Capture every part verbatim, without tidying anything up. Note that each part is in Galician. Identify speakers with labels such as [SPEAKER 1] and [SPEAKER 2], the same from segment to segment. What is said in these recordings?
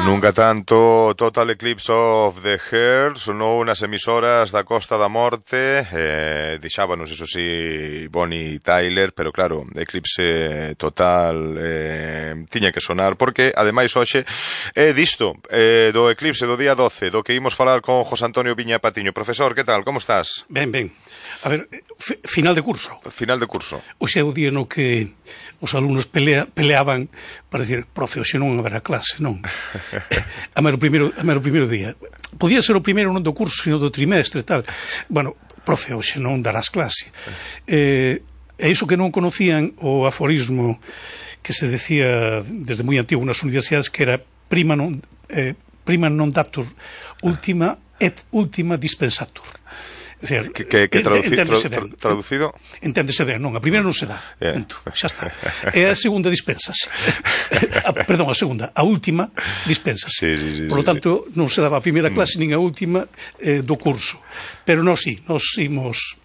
[SPEAKER 1] Nunca tanto Total Eclipse of the Heart sonou nas emisoras da Costa da Morte, eh, deixábanos, iso sí, Bonnie Tyler, pero claro, Eclipse Total eh, tiña que sonar, porque ademais hoxe é eh, disto, eh, do eclipse do día doce, do que imos falar con José Antonio Viña Patiño. Profesor, que tal, como estás?
[SPEAKER 2] Ben, ben. A ver, final de curso.
[SPEAKER 1] Final de curso.
[SPEAKER 2] Hoxe é o día no que os alumnos pelea, peleaban para dicir, profe, hoxe non haberá clase, non? A mero primeiro, a mero primeiro día. Podía ser o primeiro non do curso, sino do trimestre, tal. Bueno, profe, hoxe non darás clase. Eh, e iso que non conocían o aforismo que se decía desde moi antigo nas universidades, que era prima non, eh, prima non datur ultima et ultima dispensatur. Decir,
[SPEAKER 1] que, que, que traduci, tra, tra, traducido?
[SPEAKER 2] Enténdese ben, non, a primeira non se dá, yeah. Punto, xa está. E a segunda dispensase. a, perdón, a segunda, a última dispensase.
[SPEAKER 1] Sí, sí, sí,
[SPEAKER 2] Por lo
[SPEAKER 1] sí,
[SPEAKER 2] tanto, sí. Non se daba a primeira clase nin a última eh, do curso. Pero nós sí, nós imos...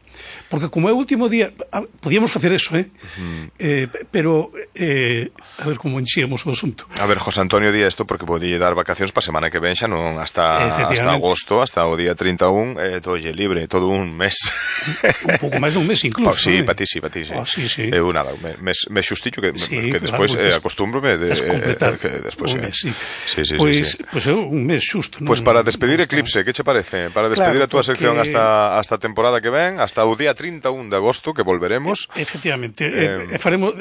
[SPEAKER 2] Porque como é o último día, podíamos facer eso, eh? Uh-huh. eh pero, eh, a ver como enxíamos o asunto.
[SPEAKER 1] A ver, José Antonio di isto porque podía dar vacacións para a semana que ven xa non hasta, hasta agosto, hasta o día trinta e un, eh, todo lle libre, todo un mes.
[SPEAKER 2] Un pouco máis dun mes incluso.
[SPEAKER 1] Oh, sí,
[SPEAKER 2] eh?
[SPEAKER 1] para ti, sí, para ti, sí.
[SPEAKER 2] Oh, sí, sí.
[SPEAKER 1] Eu nada, un mes, mes xustillo que,
[SPEAKER 2] sí,
[SPEAKER 1] que despois
[SPEAKER 2] claro,
[SPEAKER 1] eh, acostúmbrome de,
[SPEAKER 2] es completar
[SPEAKER 1] eh, que despois,
[SPEAKER 2] un mes, sí.
[SPEAKER 1] Sí, sí,
[SPEAKER 2] pues,
[SPEAKER 1] sí, sí.
[SPEAKER 2] Pues é un mes xusto.
[SPEAKER 1] Pois pues para despedir Eclipse, que che parece? Para despedir claro, a túa porque... sección hasta, hasta a temporada que ven, hasta o día trinta e un de agosto, que volveremos.
[SPEAKER 2] E, efectivamente, eh, eh, faremos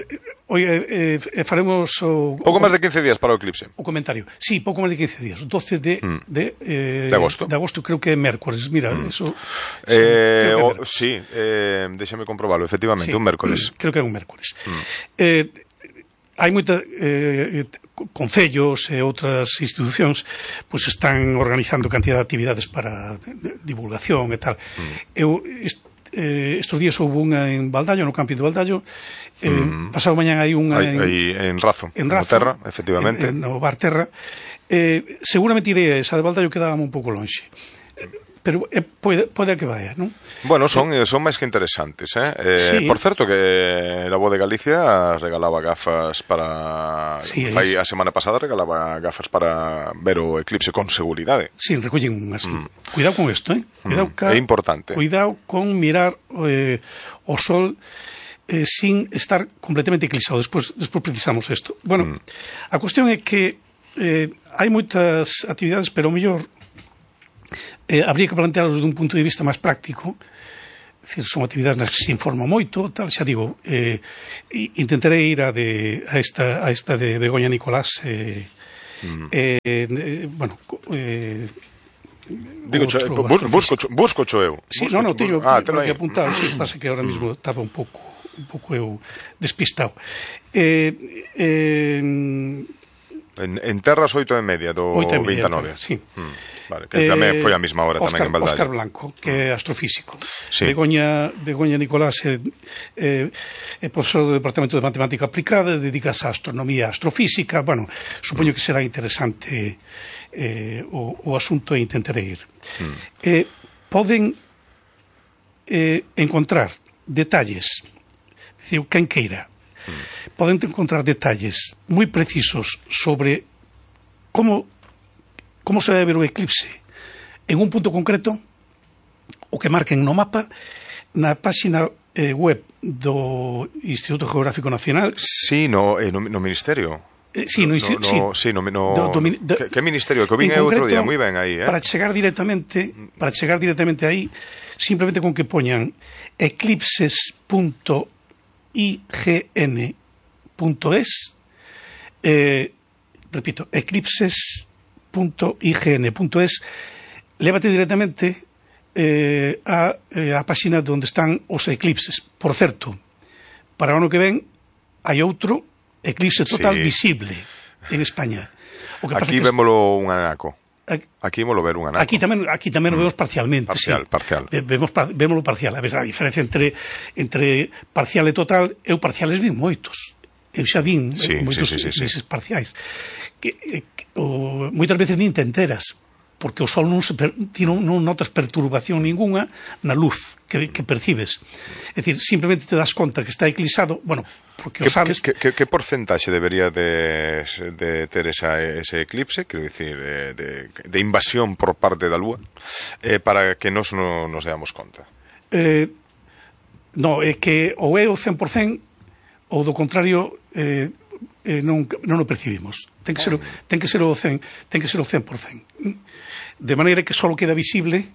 [SPEAKER 2] hoy eh, eh, faremos o,
[SPEAKER 1] pouco máis de quince días para o Eclipse.
[SPEAKER 2] O comentario. Sí, pouco máis de quince días, doce de mm. de, eh,
[SPEAKER 1] de agosto.
[SPEAKER 2] De agosto creo que é mércores. Mira, mm. eso
[SPEAKER 1] eh, o, sí, eh, déxame comprobalo, efectivamente, sí, un mércores.
[SPEAKER 2] Creo que é un mércores. Mm. Eh, hai moita eh, concellos e outras institucións pois pues, están organizando cantidad de actividades para divulgación e tal. Mm. Eu est, Eh, estes días houve unha en Baldallo, no campi de Baldallo, eh, mm. pasado mañán hai unha
[SPEAKER 1] en, en Razo,
[SPEAKER 2] en Razo,
[SPEAKER 1] no Terra, efectivamente,
[SPEAKER 2] en, en, no Bar Terra. Eh, seguramente irei a esa de Baldallo, quedábame un pouco lonxe, pero eh, pode, pode que vaya, non?
[SPEAKER 1] Bueno, son, eh, son máis que interesantes, eh? eh sí. Por certo que la Voz de Galicia regalaba gafas para...
[SPEAKER 2] Sí,
[SPEAKER 1] fai a semana pasada regalaba gafas para ver o eclipse con seguridade.
[SPEAKER 2] Sí, recollen unhas. Mm. Cuidado con isto, eh? Cuidado
[SPEAKER 1] mm.
[SPEAKER 2] ca...
[SPEAKER 1] É importante.
[SPEAKER 2] Cuidado con mirar eh, o sol eh, sin estar completamente eclipsado. Despois, despois precisamos isto. Bueno, mm. a cuestión é que eh, hai moitas actividades, pero o mellor Eh, habría que plantearlos dun punto de vista máis práctico. Decir, son actividades nas que se informa moito, tal, xa digo, eh, intentarei ir a, de, a, esta, a esta de Begoña Nicolás, eh, mm. eh, eh, bueno, eh,
[SPEAKER 1] digo, cho, bus, busco, cho, busco cho eu.
[SPEAKER 2] Sí,
[SPEAKER 1] busco
[SPEAKER 2] no, no, teño
[SPEAKER 1] ah,
[SPEAKER 2] que apuntar, sí, pasa que ahora mismo estaba un pouco un pouco eu despistado. Eh, eh,
[SPEAKER 1] En, en Terras oito e media do vinte e nove.
[SPEAKER 2] Sí.
[SPEAKER 1] Mm. Vale, que eh, tamén foi a mesma hora
[SPEAKER 2] Oscar,
[SPEAKER 1] tamén en Baldallo.
[SPEAKER 2] Óscar Blanco, que é astrofísico.
[SPEAKER 1] Sí.
[SPEAKER 2] Begoña, Begoña Nicolás é, é, é profesor do Departamento de Matemática Aplicada, dedicase a astronomía e astrofísica. Bueno, supoño que será interesante eh, o, o asunto e intentarei ir. Mm. Eh, poden eh, encontrar detalles, digo, quen queira, mm. poden encontrar detalles moi precisos sobre como como se debe ver o eclipse en un punto concreto, o que marquen no mapa, na páxina eh, web do Instituto Geográfico Nacional.
[SPEAKER 1] Sí, no, eh, no, no Ministerio.
[SPEAKER 2] Eh, sí, no, no,
[SPEAKER 1] no,
[SPEAKER 2] sí.
[SPEAKER 1] sí, no, no,
[SPEAKER 2] do, do, do,
[SPEAKER 1] que, que Ministerio? Que o vin é outro día, moi ben aí, eh?
[SPEAKER 2] Para chegar directamente, para chegar directamente aí, simplemente con que poñan eclipses punto i g n punto es, eh, repito, eclipses punto i g n punto es, lévate directamente eh, a, eh, a páxina onde están os eclipses. Por certo, para o ano que ven hai outro eclipse total, sí, visible en España.
[SPEAKER 1] O que aquí vémolo un anaco. Aquí vemos ver un anaco.
[SPEAKER 2] Aquí tamén aquí tamén o vemos parcialmente,
[SPEAKER 1] parcial,
[SPEAKER 2] sí.
[SPEAKER 1] Parcial.
[SPEAKER 2] Vemos vémolo parcial. A ver, a diferencia entre entre parcial e total, eu parciales vin moitos. Eu xa vin
[SPEAKER 1] sí,
[SPEAKER 2] moitos
[SPEAKER 1] sí, sí, sí,
[SPEAKER 2] sí.
[SPEAKER 1] sí.
[SPEAKER 2] parciais. Que, que o, moitas veces nin te enteras. porque o Sol non, se per, ti non, non notas perturbación ninguna na luz que, que percibes. É dicir, simplemente te das conta que está eclipsado, bueno, porque o sabes...
[SPEAKER 1] Que, que, que porcentaxe debería de, de ter esa, ese eclipse, quero dicir, de, de, de invasión por parte da Lúa, eh, para que nos non nos damos conta?
[SPEAKER 2] Eh, no, é que ou é o cen por cento ou do contrario eh, eh, non, non o percibimos. Ten que ser, ten que ser o cen, ten que ser o cen por cento. De maneira que só queda visible,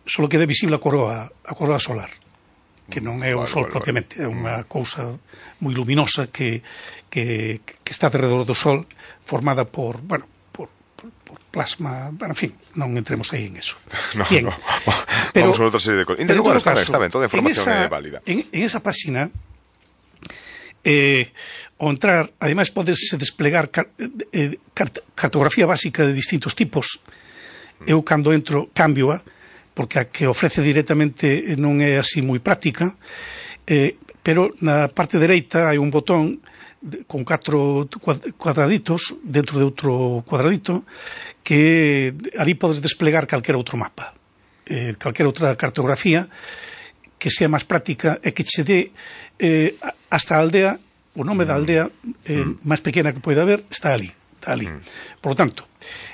[SPEAKER 2] só queda visible a coroa, a coroa solar, que non é o
[SPEAKER 1] vale,
[SPEAKER 2] Sol
[SPEAKER 1] vale,
[SPEAKER 2] propiamente,
[SPEAKER 1] vale.
[SPEAKER 2] é unha cousa moi luminosa que, que, que está alrededor do Sol, formada por, bueno, por, por, por plasma, bueno, en fin, non entremos aí en eso.
[SPEAKER 1] No,
[SPEAKER 2] Bien,
[SPEAKER 1] no.
[SPEAKER 2] pero,
[SPEAKER 1] vamos a outra serie de cosas.
[SPEAKER 2] pero
[SPEAKER 1] Bueno,
[SPEAKER 2] en todo
[SPEAKER 1] está,
[SPEAKER 2] caso,
[SPEAKER 1] está ben, toda a información
[SPEAKER 2] en esa,
[SPEAKER 1] é válida.
[SPEAKER 2] En, en esa página, eh, ao entrar, ademais podes desplegar car, eh, cart, cartografía básica de distintos tipos. Eu cando entro cambio-a, porque a que ofrece directamente non é así moi práctica, eh, pero na parte dereita hai un botón de, con catro cuadraditos dentro de outro cuadradito que ali podes desplegar calquera outro mapa, eh, calquera outra cartografía que sea máis práctica e que che dé eh, hasta a aldea, o nome da aldea eh, mm. máis pequena que poida haber está ali, está ali. Mm. Por lo tanto,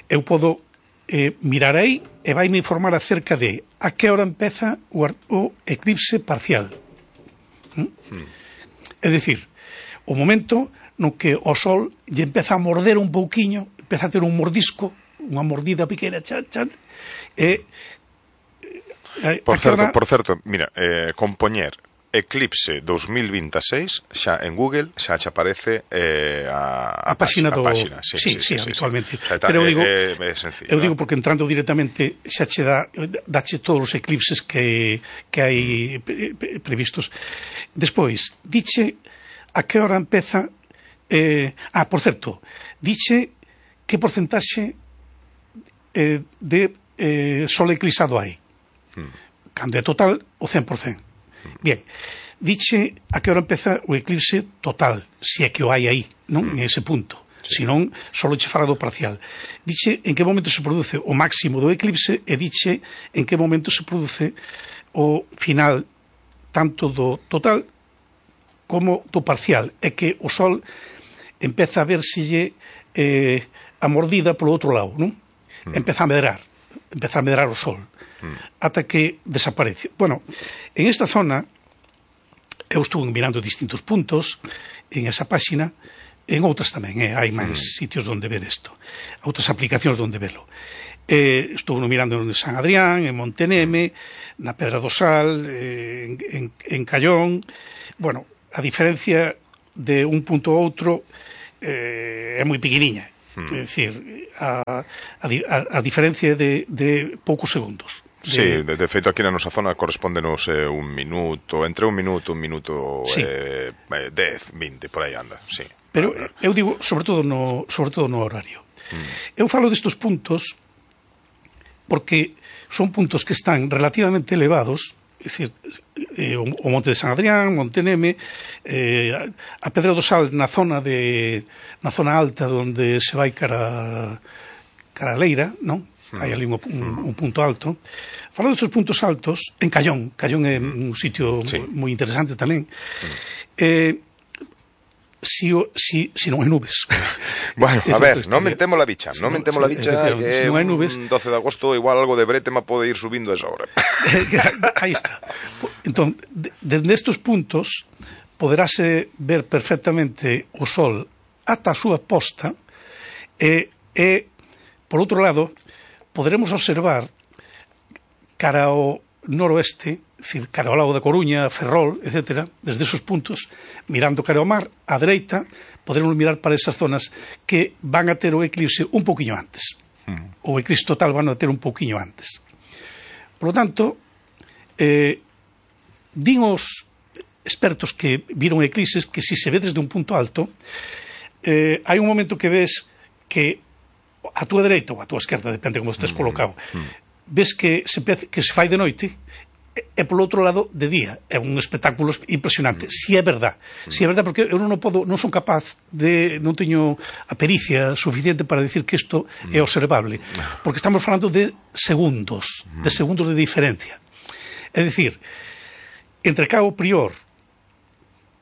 [SPEAKER 2] eu podo eh, mirar aí e vai me informar acerca de a que hora empeza o, o eclipse parcial. ¿Mm? Mm. É dicir, o momento no que o Sol lle empeza a morder un pouquiño, empeza a ter un mordisco, unha mordida pequena, chan, chan, e... Eh,
[SPEAKER 1] por certo,
[SPEAKER 2] hora...
[SPEAKER 1] por certo, mira, eh, compoñer Eclipse dos mil veintiséis xa en Google xa che aparece eh, a, a,
[SPEAKER 2] a página do...
[SPEAKER 1] página. Sí,
[SPEAKER 2] sí,
[SPEAKER 1] sí, sí,
[SPEAKER 2] sí,
[SPEAKER 1] sí,
[SPEAKER 2] habitualmente.
[SPEAKER 1] Sí. O sea,
[SPEAKER 2] pero eu digo,
[SPEAKER 1] é, é sencillo,
[SPEAKER 2] eu
[SPEAKER 1] ¿no?
[SPEAKER 2] digo porque entrando directamente xa che dá, dache todos os eclipses que, que hai previstos. Despois, diche a que hora empeza... Eh, ah, por certo, diche que porcentaxe eh, de eh, sol eclipsado hai. Hmm. Cando é total, o cen por cento. Bien, diche a que hora empeza o eclipse total, se é que o hai aí, non? En ese punto. Sí. Senón, só che fala do parcial. Diche en que momento se produce o máximo do eclipse e diche en que momento se produce o final tanto do total como do parcial. É que o Sol empeza a verselle eh, a mordida polo outro lado, non? Mm. Empeza a medrar, empeza a medrar o Sol. Ata que desaparece. Bueno, en esta zona eu estuve mirando distintos puntos en esa página, en outras tamén, eh, hai máis mm. sitios onde ver isto, outras aplicacións onde velo. Eh, estuve mirando en San Adrián, en Monteneme, na Pedra do Sal, eh, en, en, en Callón. Bueno, a diferencia de un punto a outro eh, é moi pequeniña. Mm. É dicir, a, a, a diferencia de, de poucos segundos. De...
[SPEAKER 1] Sí, de, de feito aquí na nosa zona correspóndenos eh, un minuto, entre un minuto, un minuto
[SPEAKER 2] sí.
[SPEAKER 1] eh, dez, vinte, por aí anda, sí.
[SPEAKER 2] Pero eu digo, sobre todo no, sobre todo no horario. Mm. Eu falo destos puntos porque son puntos que están relativamente elevados, é dicir, eh, o, o Monte de San Adrián, Monteneme, eh, a Pedra do Sal na zona de na zona alta onde se vai cara cara a Leira, non? Hai ali un, un, un punto alto. Falando destes puntos altos, en Callón, Callón é un sitio sí. moi interesante tamén. Eh, si, si, si non hai nubes.
[SPEAKER 1] Bueno, a ver, non mentemos la bicha, si non mentemos la bicha, que
[SPEAKER 2] si non hai nubes,
[SPEAKER 1] doce de agosto igual algo de bretema pode ir subindo a esa hora.
[SPEAKER 2] Aí está. Entón, desde estes puntos poderase ver perfectamente o Sol ata a súa posta e, e por outro lado, poderemos observar cara ao noroeste, decir, cara ao lago da Coruña, Ferrol, etcétera, desde esos puntos, mirando cara ao mar, á dereita, poderemos mirar para esas zonas que van a ter o eclipse un pouquiño antes. Mm. O eclipse total van a ter un pouquiño antes. Por lo tanto, eh, din os expertos que viron eclipses que si se ve desde un punto alto, eh, hai un momento que ves que a túa dereita ou a túa esquerda, depende como estés colocado, mm, mm. ves que se, que se fai de noite e polo outro lado de día. É un espectáculo impresionante, mm. si é verdad. Mm. Si é verdad, porque eu non podo, non son capaz de, non teño a pericia suficiente para decir que isto mm. é observable, porque estamos falando de segundos, mm. de segundos de diferencia. É dicir, entre Cabo Prior,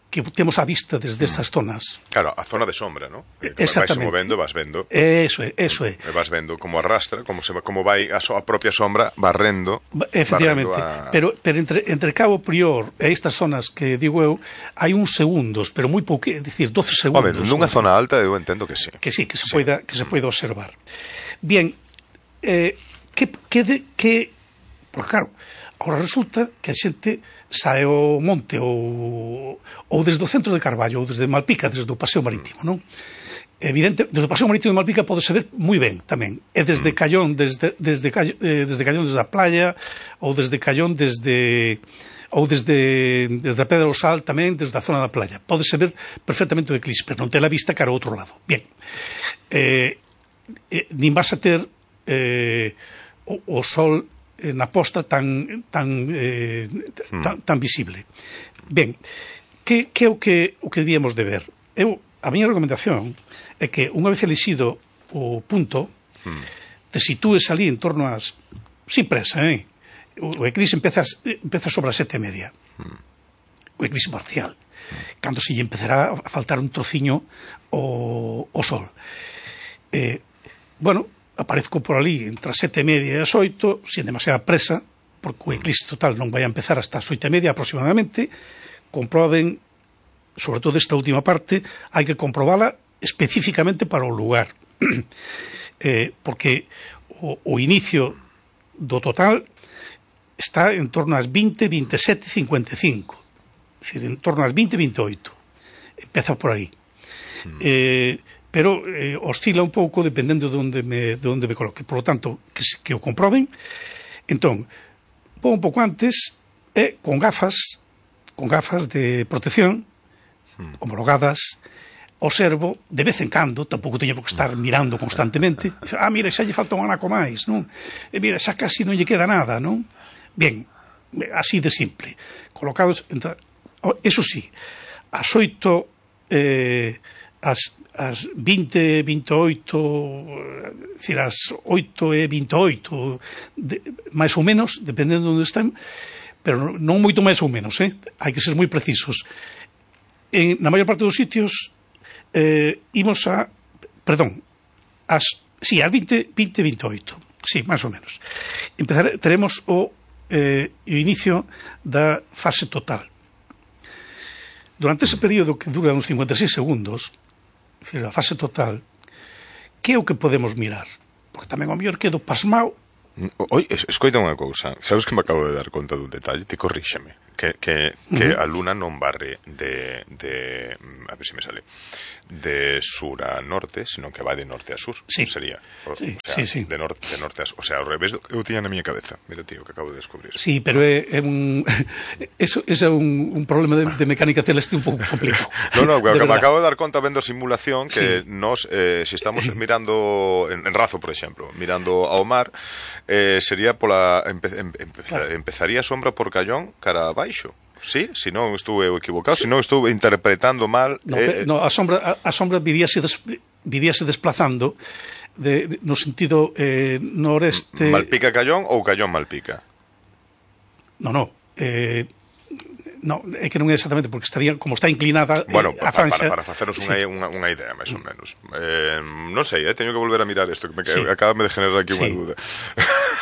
[SPEAKER 2] que temos a vista desde estas zonas.
[SPEAKER 1] Claro, a zona de sombra, ¿no? Que vais movendo, vas vendo.
[SPEAKER 2] Eso é, eso é.
[SPEAKER 1] E vas vendo como arrastra, como se como vai a, so, a propia sombra barrendo.
[SPEAKER 2] Efectivamente,
[SPEAKER 1] barrendo a...
[SPEAKER 2] pero, pero entre, entre Cabo Prior e estas zonas que digo eu, hai uns segundos, pero moi pouco, é dicir, doce segundos.
[SPEAKER 1] Home, nunha zona alta eu entendo que sí.
[SPEAKER 2] Que sí, que se
[SPEAKER 1] sí.
[SPEAKER 2] poida que se poida observar. Bien, eh, que, que, de, que porque claro, agora resulta que a xente sae ao monte ou, ou desde o centro de Carballo ou desde Malpica, desde o Paseo Marítimo, non? Evidente, desde o Paseo Marítimo de Malpica pode ser moi ben tamén. E desde Callón, desde, desde, eh, desde Callón desde a playa, ou desde Callón desde ou desde, desde a Pedra do Sal tamén, desde a zona da playa. Pode ser ver perfectamente o eclipse, pero non ter a vista cara ao outro lado. Bien. Eh, eh, nin vas a ter eh, o, o sol na posta tan tan, eh, tan, tan visible. Ben, que, que é o que, o que debíamos de ver? Eu, a miña recomendación é que unha vez elixido o punto, mm. te sitúes ali en torno ás, sin presa, eh? O, o eclipse empeza, empeza sobre as sete e media. Mm. O eclipse parcial. Mm. Cando se lle empezará a faltar un trociño o, o sol. Eh, bueno, aparezco por ali entre as sete e media e as oito, sin demasiada presa, porque o eclipse total non vai a empezar hasta as oito e media aproximadamente. Comproben, sobre todo esta última parte, hai que comprobala específicamente para o lugar. eh, porque o, o inicio do total está en torno ás vinte, veintesete, cincuenta e cinco. É dicir, en torno ás vinte, veintioito. Empeza por aí. Mm. Eh, pero eh, oscila un pouco dependendo de onde me, de onde me coloque. Por lo tanto, que, que o comproben. Entón, vou un pouco antes e con gafas con gafas de protección hmm. homologadas, observo de vez en cando, tampouco teño por que estar mirando constantemente. Ah, mira, xa lle falta un anaco máis, non? E mira, xa casi non lle queda nada, non? Bien, así de simple. Colocados, entre, eso sí, as oito eh, as as vinte, veintioito, decir, as oito e veintioito, de, máis ou menos, dependendo de onde están, pero non moito máis ou menos, eh? Hai que ser moi precisos. En, na maior parte dos sitios, eh, imos a, perdón, as, sí, as vinte, vinte, veintioito, sí, máis ou menos. Empezare, teremos o, eh, o inicio da fase total. Durante ese período que dura uns cincuenta e seis segundos, é dicir, a fase total, que é o que podemos mirar? Porque tamén ao mellor quedo pasmao.
[SPEAKER 1] Oi, escoita unha cousa, sabes que me acabo de dar conta dun detalle, te corríxame, que, que, que uh-huh. a luna non barre de, de, a ver se me sale, de sur a norte, sino que vai de norte a sur,
[SPEAKER 2] sí.
[SPEAKER 1] sería, o,
[SPEAKER 2] sí,
[SPEAKER 1] o sea,
[SPEAKER 2] sí, sí.
[SPEAKER 1] de norte, de norte a sur, o sea, ao revés do que eu tiña na miña cabeza, mira tío, que acabo de descubrir.
[SPEAKER 2] Sí, pero é, é un, eso, eso é un, un problema de, de mecánica celeste un pouco complicado.
[SPEAKER 1] No, no, que me acabo de dar conta vendo simulación que
[SPEAKER 2] sí.
[SPEAKER 1] nos, eh, se si estamos mirando en, en Razo, por exemplo, mirando ao mar, eh, sería pola empe, empe, claro. empezaría a sombra por Callón cara abaixo. Sí, se non estuve equivocado, se non estuve interpretando mal.
[SPEAKER 2] No,
[SPEAKER 1] eh,
[SPEAKER 2] no, a sombra a, a sombra viríase des, viríase desplazando de, de, no sentido eh, noreste.
[SPEAKER 1] Malpica Callón ou Callón Malpica?
[SPEAKER 2] No, no, eh no, é que non é exactamente porque estaría como está inclinada
[SPEAKER 1] bueno,
[SPEAKER 2] eh, a Francia.
[SPEAKER 1] Para, para faceros unha, sí. unha, unha idea, máis ou menos. Eh, non sei, eh, teño que volver a mirar isto, que me sí. acaba de generar aquí unha sí. dúda.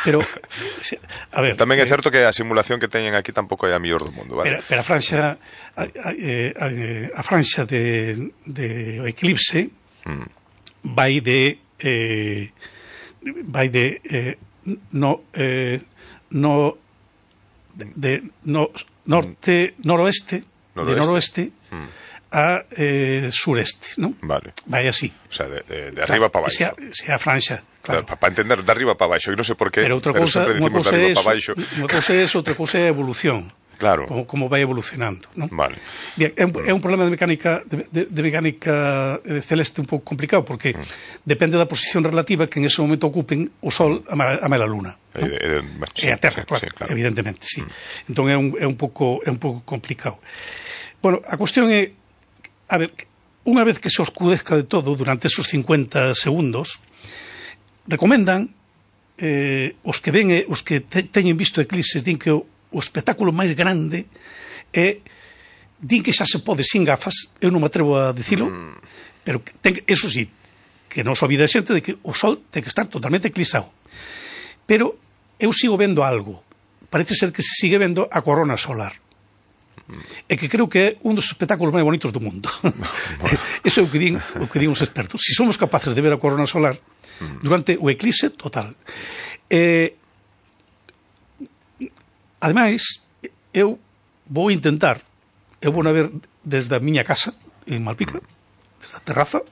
[SPEAKER 2] Pero, a ver...
[SPEAKER 1] Tamén é
[SPEAKER 2] eh,
[SPEAKER 1] certo que a simulación que teñen aquí tampouco é a mellor do mundo, vale?
[SPEAKER 2] Pero, pero a Francia, a, a, a, a Francia de, de eclipse mm. vai de... Eh, vai de... Eh, no... Eh, no... de... no norte, noroeste, noroeste, de noroeste mm. a eh, sureste, ¿no?
[SPEAKER 1] Vale.
[SPEAKER 2] Vai así.
[SPEAKER 1] O sea, de, de, de arriba claro, para baixo.
[SPEAKER 2] Sea, sea Francia, claro.
[SPEAKER 1] Para pa entender, de arriba para baixo, e non sei por qué,
[SPEAKER 2] pero outra
[SPEAKER 1] pero
[SPEAKER 2] cousa,
[SPEAKER 1] sempre dicimos de arriba para baixo.
[SPEAKER 2] Unha cousa é eso, outra cousa é a evolución.
[SPEAKER 1] Claro.
[SPEAKER 2] Como, como vai evolucionando, non?
[SPEAKER 1] Vale.
[SPEAKER 2] Bien, é un, é un problema de mecánica de, de, de mecánica celeste un pouco complicado, porque mm. depende da posición relativa que en ese momento ocupen o Sol a a Luna.
[SPEAKER 1] E, e, bueno,
[SPEAKER 2] sí, e a Terra, sí, claro, sí, claro, evidentemente, sí. Mm. Entón é un, é un pouco é un pouco complicado. Bueno, a cuestión é, a ver, unha vez que se oscurezca de todo durante esos cincuenta segundos, recomendan eh, os que ven, os que te, teñen visto eclipses, din que o, o espectáculo máis grande é, din que xa se pode sin gafas, eu non me atrevo a dicilo, mm. pero ten, eso sí, que non se olvide a xente de que o Sol ten que estar totalmente eclipsado. Pero eu sigo vendo algo, parece ser que se sigue vendo a corona solar. E que creo que é un dos espectáculos máis bonitos do mundo. Eso é o que din, o que din os expertos. Si somos capaces de ver a corona solar durante o eclipse total. Eh, ademais, eu vou intentar, eu vou a ver desde a miña casa en Malpica, desde a terraza,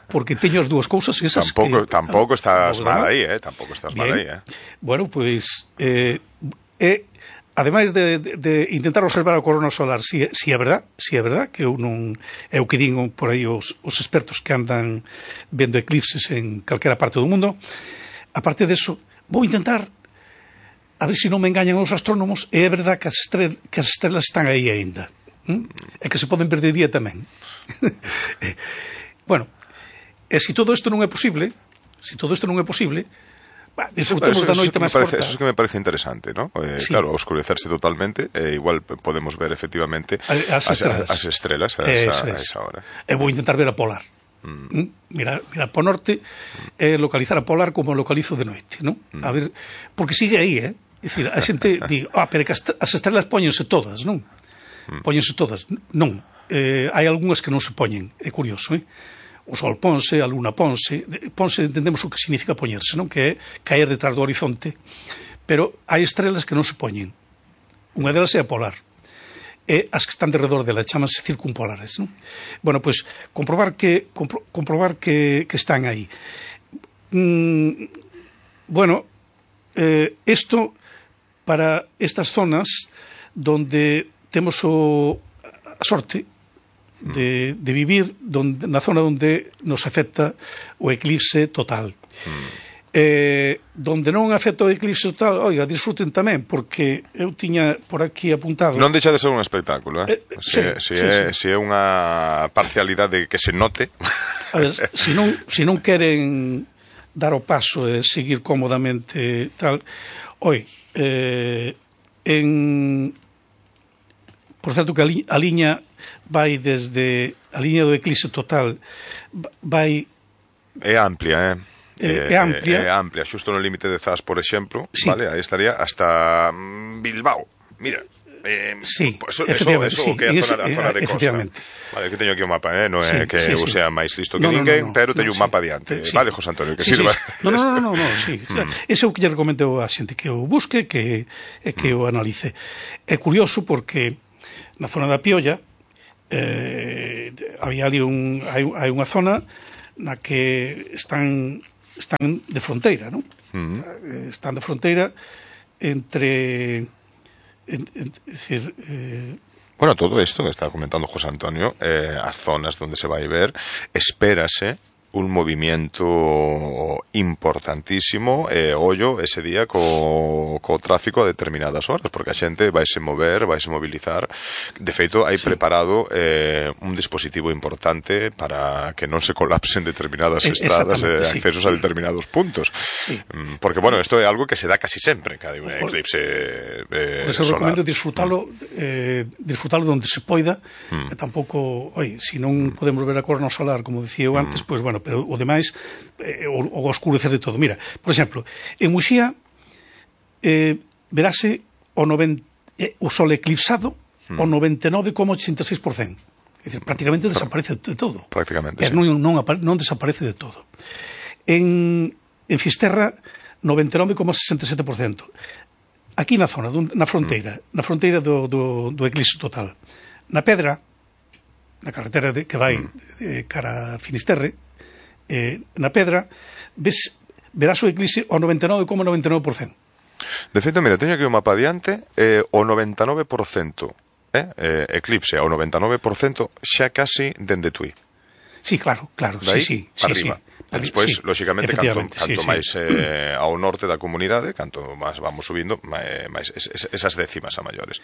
[SPEAKER 2] porque teño as dúas cousas esas
[SPEAKER 1] tampouco,
[SPEAKER 2] que...
[SPEAKER 1] Tampouco estás mal aí, eh? Tampouco estás mal aí, eh?
[SPEAKER 2] Bueno, pois... Eh, é... Ademais de, de, de intentar observar a corona solar, si, si é verdad, si é verdad que eu non é o que din por aí os, os expertos que andan vendo eclipses en calquera parte do mundo, aparte de eso, vou intentar a ver se si non me engañan os astrónomos, e é verdad que as, estrel, que as estrelas están aí aínda, ¿Mm? E que se poden ver de día tamén. Bueno, e se si todo isto non é posible, se si todo isto non é posible, bah, disfrutemos
[SPEAKER 1] eso,
[SPEAKER 2] da noite máis corta.
[SPEAKER 1] Eso é que me parece interesante, ¿no? Eh, sí. Claro, oscurecerse totalmente, eh, igual podemos ver efectivamente
[SPEAKER 2] as estrelas,
[SPEAKER 1] as, as estrelas a, esa, a esa hora.
[SPEAKER 2] E vou intentar ver a polar. Mm. Mira, mira, po norte, eh, localizar a polar como localizo de noite, ¿no? Mm. A ver, porque sigue aí, eh? É dicir, a xente di, ah, pero que as estrelas póñense todas, non? Mm. Póñense todas. Non. Eh, hai algunhas que non se poñen, é curioso, eh? O Sol ponse, a Luna ponse, ponse entendemos o que significa poñerse, non? Que é caer detrás do horizonte, pero hai estrelas que non se poñen. Unha delas é a polar, e as que están derredor dela chamanse circumpolares, non? Bueno, pois, comprobar que compro, comprobar que, que están aí. Mm, bueno, eh, isto para estas zonas donde temos o, a sorte De, de vivir donde, na zona onde nos afecta o eclipse total. Mm. Eh, donde non afecta o eclipse total, oiga, disfruten tamén, porque eu tiña por aquí apuntado...
[SPEAKER 1] Non deixa de ser un espectáculo, eh? eh se,
[SPEAKER 2] sí,
[SPEAKER 1] se,
[SPEAKER 2] sí,
[SPEAKER 1] é,
[SPEAKER 2] sí.
[SPEAKER 1] se é unha parcialidade que se note...
[SPEAKER 2] A ver, se non, se non queren dar o paso e seguir cómodamente tal... Oi, eh, en... Por certo que a, li, a liña vai desde a liña do eclipse total vai
[SPEAKER 1] é amplia, eh?
[SPEAKER 2] É, é amplia.
[SPEAKER 1] É, é amplia, xusto no límite de Zas, por exemplo,
[SPEAKER 2] sí.
[SPEAKER 1] Vale, aí estaría hasta Bilbao. Mira, eh,
[SPEAKER 2] sí,
[SPEAKER 1] eso, eso, eso
[SPEAKER 2] sí,
[SPEAKER 1] que é a zona,
[SPEAKER 2] ese,
[SPEAKER 1] a zona de costa. Vale, que teño aquí un mapa, eh? Non é sí, que sí, eu sí. sea máis listo que no, ninguén, no, no, no, pero teño no, un mapa sí. diante. Sí. Vale, José Antonio, que
[SPEAKER 2] sí,
[SPEAKER 1] sirva.
[SPEAKER 2] Sí. No, no, no, no, no, sí. Mm. Ese é o que lle recomendo a xente que o busque, que, que mm. o analice. É curioso porque na zona da Piolla eh, había ali un, hai, hai unha zona na que están están de fronteira, non? Mm. Están de fronteira entre en, en, es decir, eh,
[SPEAKER 1] bueno, todo isto que está comentando José Antonio, eh, as zonas donde se vai ver, espérase un movimiento importantísimo e eh, ollo ese día co, co tráfico a determinadas horas, porque a xente vaise mover, vaise mobilizar. De feito, hai sí. preparado eh, un dispositivo importante para que non se colapsen determinadas estradas e eh, accesos sí. a determinados puntos. Sí. Porque, bueno, isto é algo que se dá casi sempre cada un eclipse eh,
[SPEAKER 2] por eso solar. Recomendo disfrutalo eh, disfrutalo donde se poida mm. e tampouco, oi, se non podemos ver a corona solar, como dicía eu antes, mm. pois, pues, bueno, pero o demais eh, o, o oscurecer de todo. Mira, por exemplo, en Muxía eh, verase o, noventa, eh, o sol eclipsado mm. o noventa e nove coma ochenta e seis por cento. É dicir, prácticamente desaparece de todo.
[SPEAKER 1] Prácticamente,
[SPEAKER 2] sí. non, non, non desaparece de todo. En, en Fisterra, noventa e nove coma sesenta e sete por cento. Aquí na zona, na fronteira, mm. na fronteira do, do, do eclipse total. Na Pedra, na carretera de, que vai mm. eh, cara a Finisterre, eh, na Pedra, ves, verás o eclipse ao noventa e nove coma noventa e nove por cento.
[SPEAKER 1] De feito, mira, teño aquí o mapa adiante, eh, o noventa e nove por cento eh, eh, eclipse, o noventa e nove por cento xa casi dende Tui.
[SPEAKER 2] Sí, claro, claro,
[SPEAKER 1] Daí,
[SPEAKER 2] sí, sí,
[SPEAKER 1] para
[SPEAKER 2] sí,
[SPEAKER 1] arriba.
[SPEAKER 2] sí.
[SPEAKER 1] E despois, sí, lóxicamente, canto, canto
[SPEAKER 2] sí,
[SPEAKER 1] máis
[SPEAKER 2] sí.
[SPEAKER 1] eh, ao norte da comunidade, canto máis vamos subindo, máis es, es, esas décimas a maiores.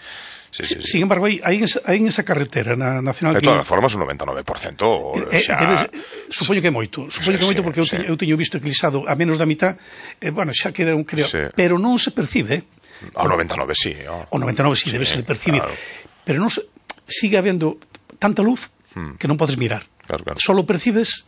[SPEAKER 1] Sí, sí, sí, sí.
[SPEAKER 2] Sin embargo, aí, aí, en, aí en esa carretera na Nacional...
[SPEAKER 1] De todas formas, un noventa e nove por cento
[SPEAKER 2] eh,
[SPEAKER 1] xa...
[SPEAKER 2] Debes, supoño que é moito, supoño que é moito porque eu,
[SPEAKER 1] sí.
[SPEAKER 2] teño, eu teño visto eclipsado a menos da mitad, eh, bueno, xa queda un creo, sí. Pero non se percibe, eh?
[SPEAKER 1] Ao noventa e nove, sí. Oh.
[SPEAKER 2] O noventa e nove, sí, sí, debe se percibir. Claro. Pero non se, sigue habendo tanta luz hmm. que non podes mirar.
[SPEAKER 1] Claro, claro.
[SPEAKER 2] Solo percibes...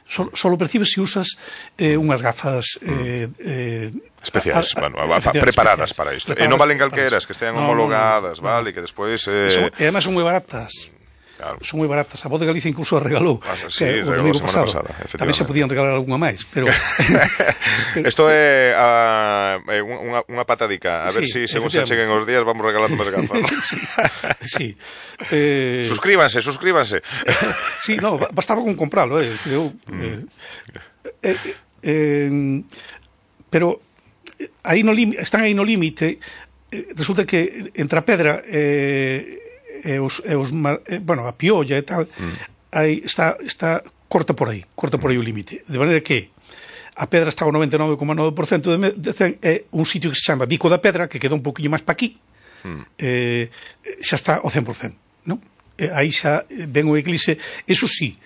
[SPEAKER 2] Solo, solo percibes se usas eh, unhas gafas eh, eh,
[SPEAKER 1] especiais,
[SPEAKER 2] a, a,
[SPEAKER 1] bueno, a, a, preparadas
[SPEAKER 2] especiais,
[SPEAKER 1] para isto.
[SPEAKER 2] Preparadas,
[SPEAKER 1] e non valen calqueras, que estean no, homologadas, no, no, vale, que despois... Eh...
[SPEAKER 2] Son, e además son moi baratas. Claro. Son moi baratas. A Voz de Galicia incluso a regalou.
[SPEAKER 1] Ah, sí, que, regalou a semana pasada,
[SPEAKER 2] tamén se podían regalar algunha máis, pero...
[SPEAKER 1] Isto é uh, unha, unha patadica. A ver se, sí, según se cheguen os días, vamos regalando máis gafas.
[SPEAKER 2] Sí, sí. Eh...
[SPEAKER 1] Suscríbanse, suscríbanse.
[SPEAKER 2] Sí, no, bastaba con compralo, eh. Eu, eh, eh, eh, pero aí no están aí no límite. Eh, resulta que entre a pedra... Eh, e os, e os eh, bueno, a piolla e tal, mm. aí está, está corta por aí, corta por aí o límite. De maneira que a pedra está ao noventa e nove coma nove por cento de, de cen, é un sitio que se chama Bico da Pedra, que queda un poquinho máis pa aquí, mm. eh, xa está ao cen por cento, non? Eh, aí xa ven o eclipse, eso sí,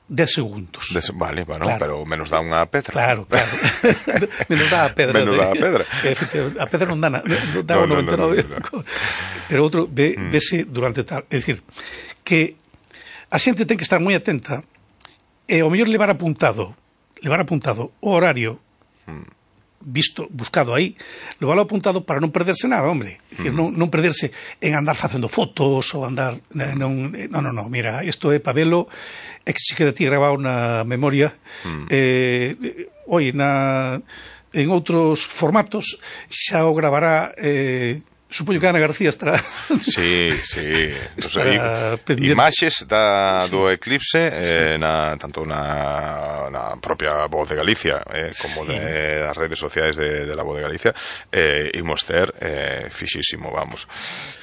[SPEAKER 2] dez segundos.
[SPEAKER 1] Des, vale, bueno, claro. Pero menos dá unha pedra.
[SPEAKER 2] Claro, claro. menos dá a pedra.
[SPEAKER 1] Menos dá a pedra.
[SPEAKER 2] A pedra non dá, non dá no, o noventa e nove. No, no, no, no. Pero outro ve, mm. vese durante tal. É dicir, que a xente ten que estar moi atenta e ao mellor levar apuntado, levar apuntado o horario mm. visto, buscado aí, levarlo apuntado para non perderse nada, hombre. É dicir, mm. non, non perderse en andar facendo fotos ou andar... Non, non, non, no, mira, isto é para velo, é que se queda ti grabado na memoria. Mm. Eh, oi, na, en outros formatos xa o gravará... Eh, supoño que Ana García estará...
[SPEAKER 1] Sí, sí.
[SPEAKER 2] Estará
[SPEAKER 1] pues, imaxes da, sí. do eclipse, eh, sí. na, tanto na, na propia Voz de Galicia, eh, como sí. de das redes sociais de, de la Voz de Galicia, eh, imos ter eh, fixísimo, vamos.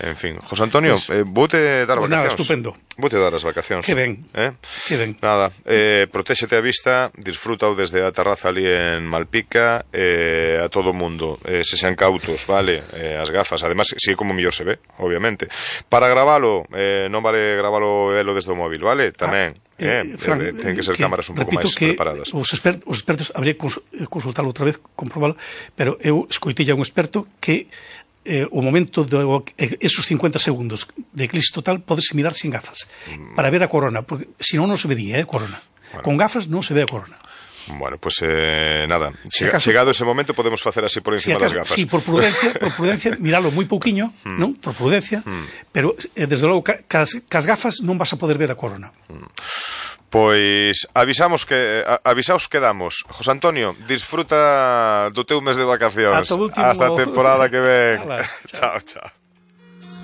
[SPEAKER 1] En fin, José Antonio, pues, eh, voute dar
[SPEAKER 2] pues
[SPEAKER 1] vacacións.
[SPEAKER 2] Nada, estupendo.
[SPEAKER 1] Voute dar as vacacións.
[SPEAKER 2] Que ben,
[SPEAKER 1] eh?
[SPEAKER 2] que ben.
[SPEAKER 1] Nada, eh, protéxete a vista, disfrutao desde a terraza ali en Malpica, eh, a todo o mundo, eh, se sean cautos, vale, eh, as gafas, además además, si é como mellor se ve, obviamente. Para gravalo, eh, non vale gravalo elo desde o móvil, vale? Tamén. Ah, eh, eh, Fran, eh, ten que ser que, cámaras un pouco máis preparadas.
[SPEAKER 2] Os, expert, os expertos, habría que consultalo outra vez, comprobalo, pero eu escoitei a un experto que eh, o momento de eh, esos cincuenta segundos de eclipse total podese mirar sin gafas, mm. para ver a corona, porque se non non se vedía, eh, corona. Bueno. Con gafas non se ve a corona.
[SPEAKER 1] Bueno, pues eh, nada, si Chega, acaso, chegado ese momento podemos facer así por encima si acaso, das gafas.
[SPEAKER 2] Sí, por prudencia, por prudencia, miralo moi pouquiño, mm. non? Por prudencia, mm. pero eh, desde logo cas, cas gafas non vas a poder ver a corona.
[SPEAKER 1] Mm. Pois avisamos que a, avisaos que damos. José Antonio, disfruta do teu mes de vacacións.
[SPEAKER 2] Hasta a
[SPEAKER 1] temporada que ven. Chao, chao.